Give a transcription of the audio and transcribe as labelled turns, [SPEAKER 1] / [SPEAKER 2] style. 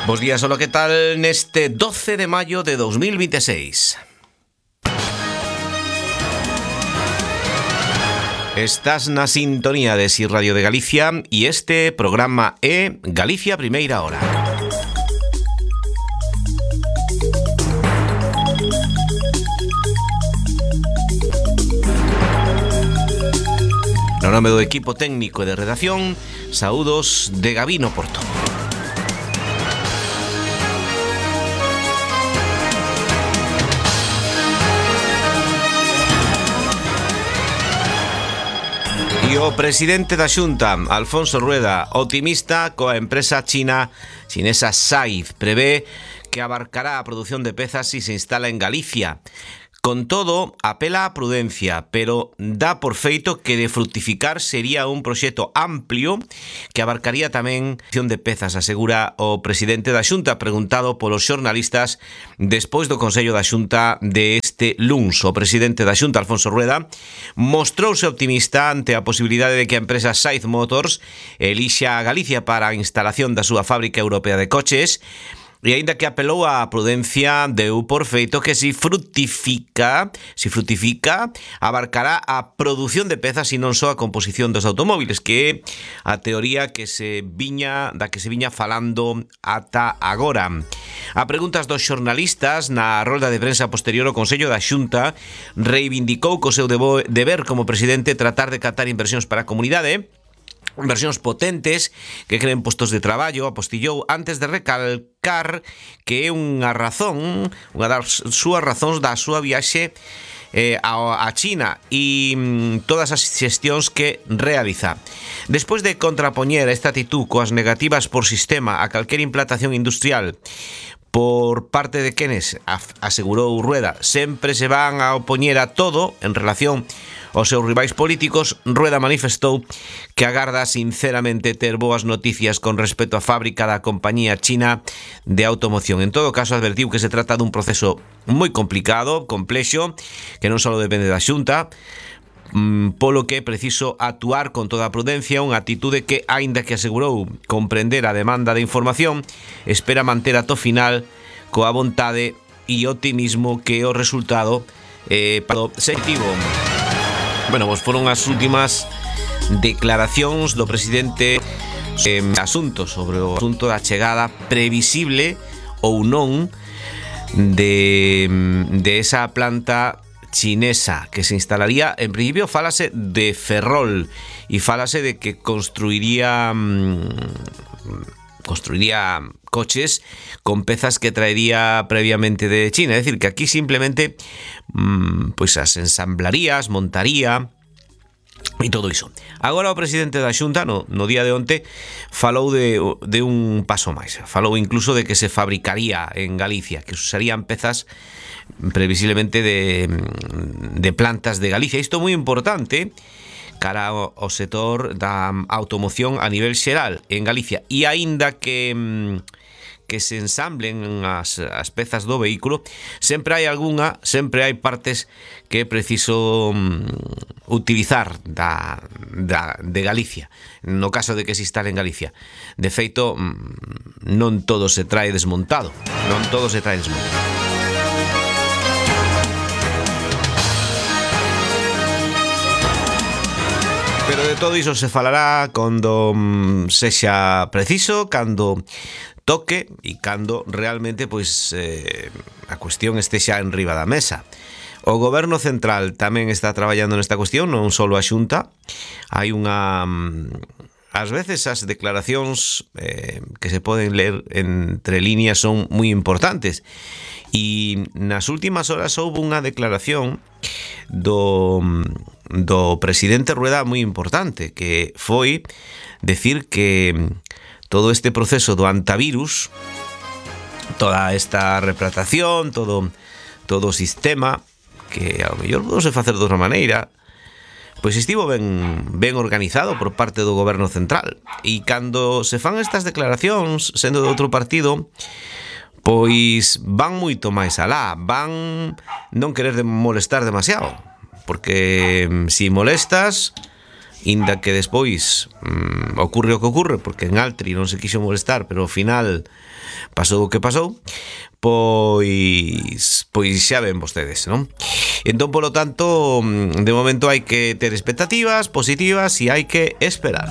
[SPEAKER 1] Bos días, hola, que tal neste 12 de maio de 2026? Estás na sintonía de Si Radio de Galicia e este programa é Galicia Primeira Hora. No nome do equipo técnico e de redacción, saúdos de Gabino Porto. E o presidente da Xunta, Alfonso Rueda, optimista coa empresa chinesa SAIZ, prevé que abarcará a produción de pezas si se instala en Galicia. Con todo, apela á prudencia, pero dá por feito que de fructificar sería un proxecto amplio que abarcaría tamén a produción de pezas, asegura o presidente da Xunta, preguntado polos xornalistas despois do Consello da Xunta de este luns. O presidente da Xunta, Alfonso Rueda, mostrouse optimista ante a posibilidade de que a empresa SAIZ Motors elixa a Galicia para a instalación da súa fábrica europea de coches. E aínda que apelou á prudencia, deu por feito que se fructifica, abarcará a produción de pezas e non só a composición dos automóviles, que é a teoría que se viña falando ata agora. A preguntas dos xornalistas na rolda de prensa posterior, o Consello da Xunta reivindicou co seu deber como presidente tratar de captar inversións para a comunidade, inversións potentes que creen postos de traballo. Apostillou antes de recalcar que é unha das súas razóns da súa viaxe a China e todas as xestións que realiza. Despois de contrapoñer esta actitud coas negativas por sistema a calquera implantación industrial por parte de quenes, asegurou Rueda, sempre se van a opoñer a todo en relación aos seus rivais políticos, Rueda manifestou que agarda sinceramente ter boas noticias con respecto á fábrica da compañía china de automoción. En todo caso, advertiu que se trata dun proceso moi complicado, complexo, que non só depende da Xunta, polo que é preciso actuar con toda a prudencia, unha atitude que, aínda que asegurou comprender a demanda de información, espera manter ata o final coa vontade e optimismo que o resultado positivo. Bueno, pues foron as últimas declaracións do presidente sobre o asunto da chegada previsible ou non de esa planta chinesa que se instalaría. En principio fálase de Ferrol e fálase de que construiría coches con pezas que traería previamente de China. É dicir, que aquí simplemente pois as ensamblaría, montaría e todo iso. Agora o presidente da Xunta no día de onte falou de un paso máis. Falou incluso de que se fabricaría en Galicia, que usarían pezas previsiblemente de plantas de Galicia. Isto é moi importante cara ao sector da automoción a nivel xeral en Galicia. E aínda que se ensamblen as pezas do vehículo, sempre hai partes que é preciso utilizar de Galicia, no caso de que se instale en Galicia. De feito, non todo se trae desmontado. Pero de todo iso se falará cando sexa preciso, cando toque e cando realmente a cuestión estexa en riba da mesa. O goberno central tamén está traballando nesta cuestión, non só a Xunta. Hai ás veces as declaracións que se poden ler entre líneas son moi importantes. E nas últimas horas houve unha declaración do presidente Rueda moi importante, que foi decir que todo este proceso do antivirus, toda esta replatación, todo o sistema, que ao mellor podose facer de outra maneira, pois estivo ben organizado por parte do goberno central. E cando se fan estas declaracións, sendo de outro partido, pois van moito máis alá, van non querer molestar demasiado, porque si molestas, inda que despois ocurre o que ocurre, porque en Altri non se quixo molestar, pero ao final pasou o que pasou, pois xa ven vostedes, non? Entón, polo tanto, de momento hai que ter expectativas positivas e hai que esperar.